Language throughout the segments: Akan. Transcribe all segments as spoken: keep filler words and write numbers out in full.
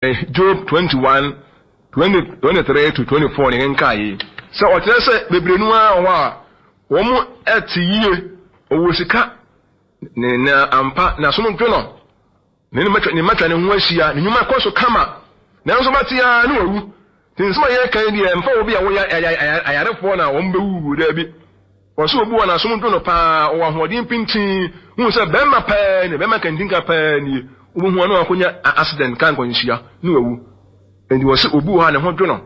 Job twenty one twenty twenty three to twenty four ne nka yi sɛ ɔkyerɛ sɛ bebree no ara wɔ hɔ a wɔn ɛte yie, ɔwɔ sika ne na ampa n'asom dwo no, ne ne mmatwa ne mmatwa ne ho ahyia, ne nnwuma kɔ so kama, nanso bɛte ara ne wawu. Te nsɛm a yɛka yi deɛ, mfa obi a wɔyɛ ayarefoɔ na wɔn bɛwuwu daabi. Wɔsɛ obi wɔ n'asom dwo no paa, ɔwɔ ahoɔden pintin, hu sɛ bɛrima pɛɛ ne bɛrima kantinka pɛɛ nie, wobɛhu ano akɔnya accident ka nkwanhyia ne wawu. Nti wɔsɛ obi wɔ hɔ a ne ho dwo no,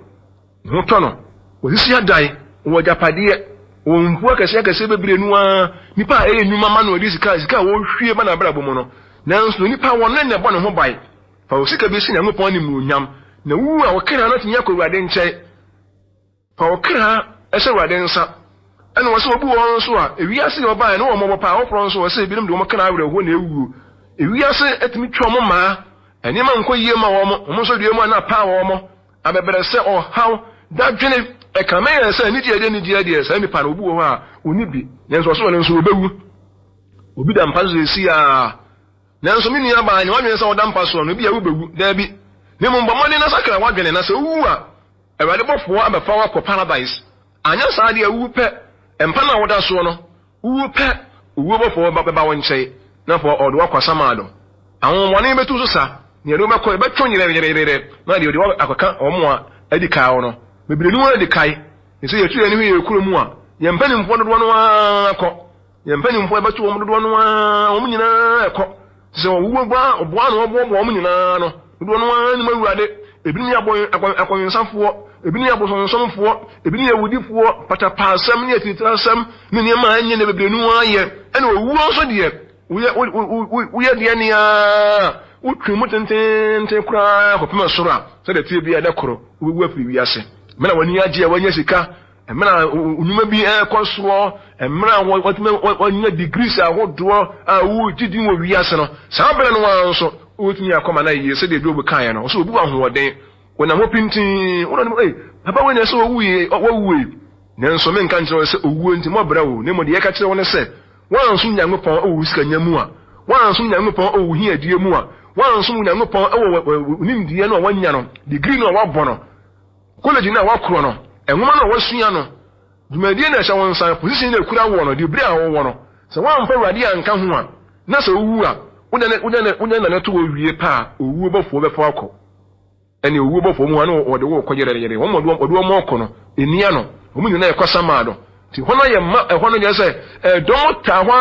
ne ho tɔ no, wɔsisi adan, wɔ agyapadeɛ, wɔ mfuo akɛseɛ akɛseɛ bebree no ara, nipa a ɛyɛ nnwuma ma no, ɔde sika sika a wɔhwie ba n'abrabɔ mu no, nanso nipa wɔn ne na ɛbɔ ne ho ban. Fa wo sika bi si Nyankopɔn animuonyam, na wu a wɔkra no tumi akɔ Awurade nkyɛn. Fa wo kra ɛhyɛ Awurade nsa. Ɛna wɔsɛ obi wɔ hɔ nso a ewiase yɛ ɔbaa ne wɔn mmɔbɔ paa. Afoforɔ nso wɔsɛ ebinom de wɔn kra awerɛhoɔ na ewuo. Ewiase etumi twa wɔn mmaa, nneɛma nkɔ yie ma wɔn, wɔn nso deɛ mu a na paa wɔn abɛbrɛ sɛ ɔhaw dadwene ɛkame yɛn sɛ anigye deɛ anigye deɛ saa nipa no, obi wɔ hɔ a oni bi, nanso ɔso wɔn nso obewu. Obi da mpa so esi a, nanso me nua baa ne wadwene sɛ ɔda mpa soɔ no, ebi a wobɛwu daabi, ne mu bɔ mmɔden na sakra wadwene, na sɛ owu a, Awurade bɔfoɔ abɛfa wakɔ paradise. Anyɛ saa deɛ, wu pɛ, mpa no a woda soɔ no, wu pɛ, owuo bɔfoɔ bɛba wo nkyɛn na afɔ ɔde wakɔ asamado. Ahonhommɔne bɛtu so sa nea ɛde wobɛkɔ, ɛbɛtwe yerɛyerɛyerɛ na deɛ ɔde akɔka wɔn a adi kae no bebree no adi kae. Sɛ yɛtu yɛn ho yɛ kuro mu a, yɛn mpanimfoɔ dodoɔ no ara kɔ, yɛn mpanimfoɔ ɛbɛto wɔn dodoɔ no ara, wɔn nyinaa ɛkɔ sɛ ɔwuo ba ɔboa na ɔboaboa wɔn nyinaa no dodoɔ no ara nim Awurade. Ebinom yɛ akɔnwensafoɔ, ebinom yɛ abosonsomfoɔ, ebinom yɛ awudifoɔ, patapaasɛm ne atiritirasɛm ne nneɛma a ɛnyɛ ne bebree no ara yɛ. Ɛna owuo nso deɛ, woyɛ woyɛ deɛ nea wotwe mu tententen koraa kɔpem soro a, sɛdeɛ tie bi a ɛdɛ koro wobɛwu afiri wiase. Mmerɛ a w'ani agye a wanya sika, mmerɛ a nnwuma bi ɛrekɔ soɔ, mmerɛ a wɔtumi wɔanya degrees ahodoɔ a wogye din wɔ wiase no, saa berɛ no ara nso wotumi akɔma no yie. Sɛdeɛ Job kaeɛ no, ɔsɛ obi wɔ ahoɔden, wɔnam hɔ pintin, wɔn anim, ee, papa wei na ɛsɛ ɔwuie, wɔwuie, nanso menka nkyerɛ wo sɛ owuo nti mɔbrɛ wo, na mmom deɛ yɛka kyerɛ wo ne sɛ woansom Nyankopɔn wɔ wo sikanya mu a, woansom Nyankopɔn wɔ wo hiadie mu a, woansom Nyankopɔn wɔ wo nimdeɛ no a woanya no, degree no a woabɔ no, college no a woakorɔ no, nwoma no a woasua no, dwumadie no a ɛhyɛ wo nsa, position no a ɛkura wɔ no, degree a wowɔ no, sɛ woamfa Awurade anka ho a, na sɛ wowu a, wode nane to wɔ wie pa a, owuo bɔfoɔ bɛfa akɔ. Ɛne owuo bɔfoɔ mu hɔ ne wɔde wo kɔ yerɛyerɛ, wɔn wɔde wɔn ɔkɔ no enia no, wɔn nyinaa ɛkɔ sama do. Nti hɔ no yɛ ma ɛhɔ no yɛ sɛ ɛdɔm taa hɔ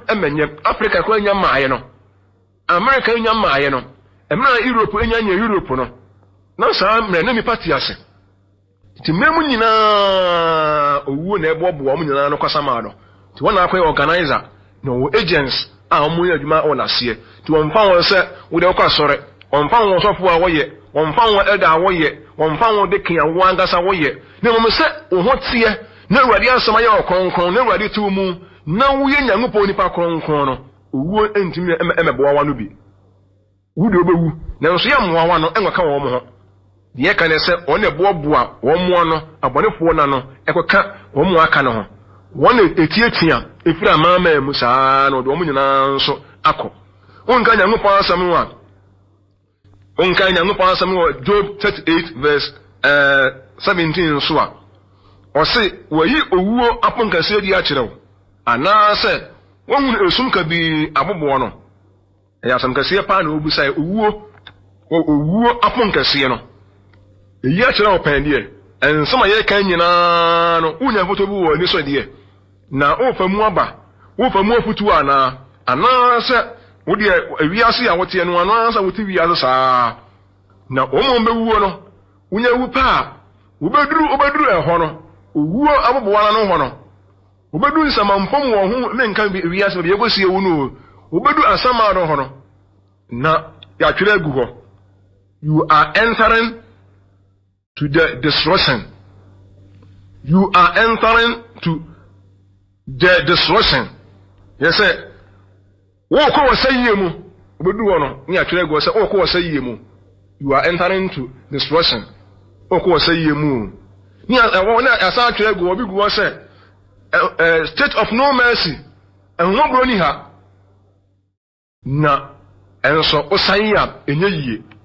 ɛmɛnyɛ Africa kora nya mmaayɛ no, America nya mmaayɛ no, mmerɛ Europe nya nya Europe no, na saa mmerɛ ne nipa te ase. Nti mmerɛ mu nyinaa owuo na ɛboaboa wɔn nyinaa no kɔ sama do. Nti wɔn na akɔyɛ organizer na wɔwɔ agents a wɔn yɛ adwuma wɔ n'aseɛ. Nti wɔmfa wɔn sɛ wode wokɔ asɔre, wɔmfa wɔn sɔfo a wɔyɛ, wɔmfa wɔn elder a wɔyɛ, wɔmfa wɔn deacon a wɔn ankasa wɔyɛ, na mmom sɛ wo ho teɛ na Awurade asɛm ayɛ wɔ kronkron na Awurade te wo mu na woyɛ Nyankopɔn nipa kronkron no, owuo ntumi ɛmɛboa wa no bi. Wo deɛ wobɛwu, nanso yɛ mmoa wa no ɛnkɔka wɔn ho. Deɛ ɛka ne sɛ wɔn na ɛboaboa wɔn mmoa no, abɔnefoɔ na no ɛkɔka wɔn mu aka no ho, wɔn na etiatia efiri amanaman mu saa na ɔde wɔn nyinaa nso akɔ. Wonka Nyankopɔn asɛm no a, wonka Nyankopɔn asɛm no wɔ Job thirty eight verse ɛɛ seventeen nso a, ɔse wɔyi owuo aponkɛseɛ di akyerɛ wo, anaasɛ wɔhunu esum kabii aboboɔ no. Ɛyɛ asɛm kɛseɛ paa na obusa yɛ owuo, owuo aponkɛseɛ no eyi akyerɛ wo pɛn deɛ. Nsɛm a yɛka nyinaa no, wonya foto bi wɔ ani so deɛ, na wofa mu aba, wofa mu afutuo anaa, anaasɛ wodeɛ ewiase a woteɛ no, anaasɛ wote wiase saa na wɔn a wɔbɛwuo no, wonya wu paa, wobɛduru wobɛduru ɛhɔ no, owuo aboboa no hɔ no, wobɛdu nsamanpɔm wɔ ho, menka wiase baabi yɛkɔsie wo no, wobɛdu asamado hɔ no na yɛatwerɛ agu hɔ, "You are entering to the destruction. You are entering to the destruction." Yɛ sɛ wɔrekɔ wɔ sɛ yie mu, wobɛdu hɔ no ne yɛatwerɛ agu hɔ sɛ wɔrekɔ wɔ sɛ yie mu, "You are entering to destruction." Wɔrekɔ wɔ sɛ yie mu ne ɛwɔ ne asan atwerɛ agu hɔ bi gu hɔ sɛ ɛ state of no mercy, ɛhomɔborɔ ni ha, na ɛnso wosan yi a ɛnyɛ yie.